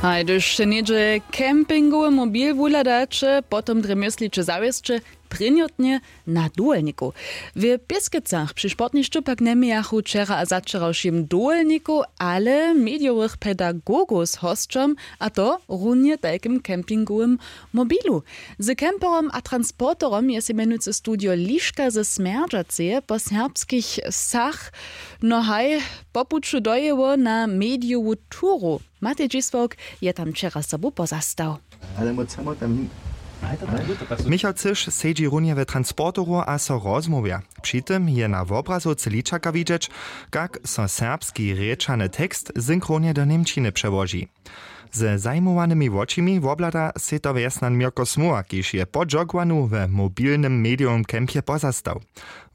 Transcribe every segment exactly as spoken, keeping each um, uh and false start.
Haj, hdyž něhdźe campingowy mobil wuhladaće, potom drje mysliće zawěsće prěnjotnje na dowolnikow. W pěskecach při sportnišću pak njemějachu wčera a začerawšim dowolnikow, ale medijowych pedagogow z hosćom, a to runje tajkim campingowym mobilu. Z camperom a transporterom je sej mjenujcy studio Liška ze Smjerdźaceje po serbskich wsach, no haj, po puću dojěło na medijowu turu. Matej dźisławk je tam wčera sobu pozastał. Ale mój samo tam ni- Michał Cyš sedźi runje w transporteru a so rozmołwja. Při tym je na wobrazowce ličaka widźeć, kak so serbski rěčany tekst synchronje do němčiny přełoži. Ze zajimowanymi wočimi wobhlada sej to wjesnjan Mirko Smoła, kiž je po džogowanu we mobilnym medijowym campje pozastał.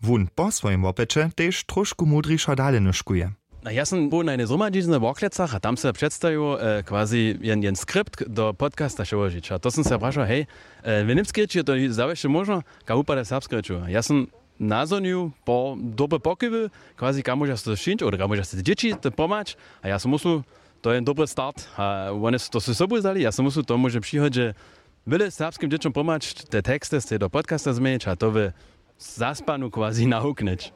Wón po swojim wopyće tež trošku mudrišo dale nóžkuje. A ja sam był na jednej zhromadźiznje w Worklecach a tam se předstajił, e, quasi jen, jen skript do podcasta přełožić. A to sam se prašał, hej, e, w němskej rěči je to zawěsće móžno, kak wupada w serbskej rěči? Ja sam nazhonił po dobre pokiwy, quasi, kak móžeš to sčinić, oder kak móžeš te dźěći te pomhać. A ja sam myslu, to je jen dobry start. A wone su to z sobu wzali. Ja sam myslu, to móže w přichodźe wjele serbskim dźěćom pomhać, te teksty z do podcasta změnić a to w zaspanu quasi nawuknyć.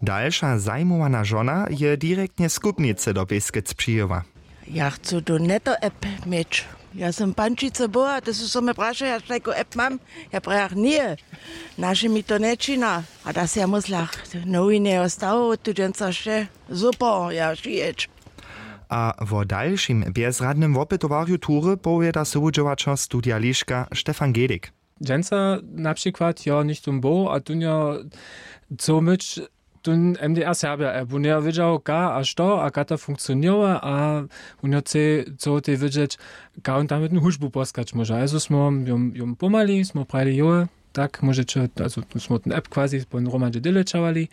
Dalša zajimowana žona je direktnje z Kubnicy do Pěskec přijěła. Ja chcu tu neto app měć. Ja sam pančicy była, ty su so mje prašał, ja štajku app mam. Ja prajach, nje, naše mi to nječina. A da se ja myslach, nowinje je stało tu dźensa wše super, ja šijeć. A wo dalšim bjezradnym wopytowarju tury powěda sowudźěłaćer studija Liška Stefan Gehlik. Dźensa na přikład jo něchtó był a tón jo chcał myć tón M D R Serbia app. Wón jo wědźał, ka a što a ka to funkcioněruje a wón jo chce, chcał tej wědźeć, ka wón tam jednu hudźbu poskać móže. Also smo jom, jom pomhali, smo prajili, jo, tak móžeće, also tu smo ten app quasi po hromadźe delećowali,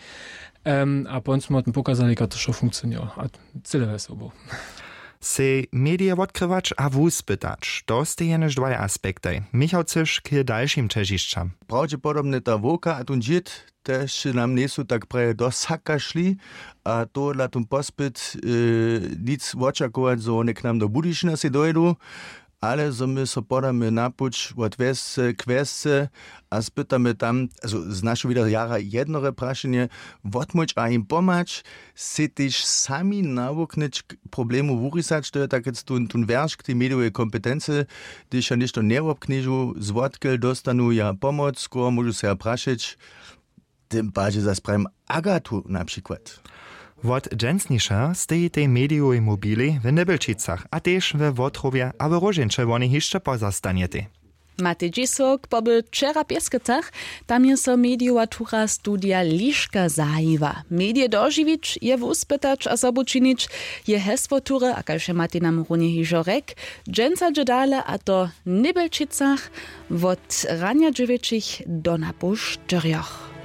em, a pon smo tym pokazali, ka to wšo funkcioněruje. A cyle wjesel był. Sej medije wotkrywać a wuspytać, to stej jenož dwaj aspektaj. Michał Cyš k dalšim ćežišćam. Prawdźepodobnje ta wowka a tón dźěd tež nam njejsu tak praje do saka šli, a tohodla tón pospyt, e, nic wočakować, zo wone k nam do Budyšina sej dojdu, ale zo my so podamy na puć wot wjesce k wjesce a spytamy tam, also z našeho wida jara jednore prašenje, wotmóhć a jim pomhać, sej tež sami nawuknyć k problemu wurisać, to je tak tón, tón wjerš k tej medijowej kompetency, hdyž ja něšto njewobknježu, zwotkel dóstanu ja pomoc, koho móžu sej ja prašeć, tym padźe zas prajim Agatu na přikład. Wot dźensnišeho steji tej medijowej mobilej w Nybelčicach a tež we Wotrowje a w Róžeńće wonej hišće pozastanjetej. Matej dźisławk poby wčera w Pěskecach, tam je so medijowa tura studija Liška zajiwa. Medije dožiwić je wuspytać a sobu činić, je hesło tury, a kaž je Matej nam runje hižo rjekł, dźensa dźe dale, a to w Nybelčicach wot ranja dźewjećich do napoł štyrjoch.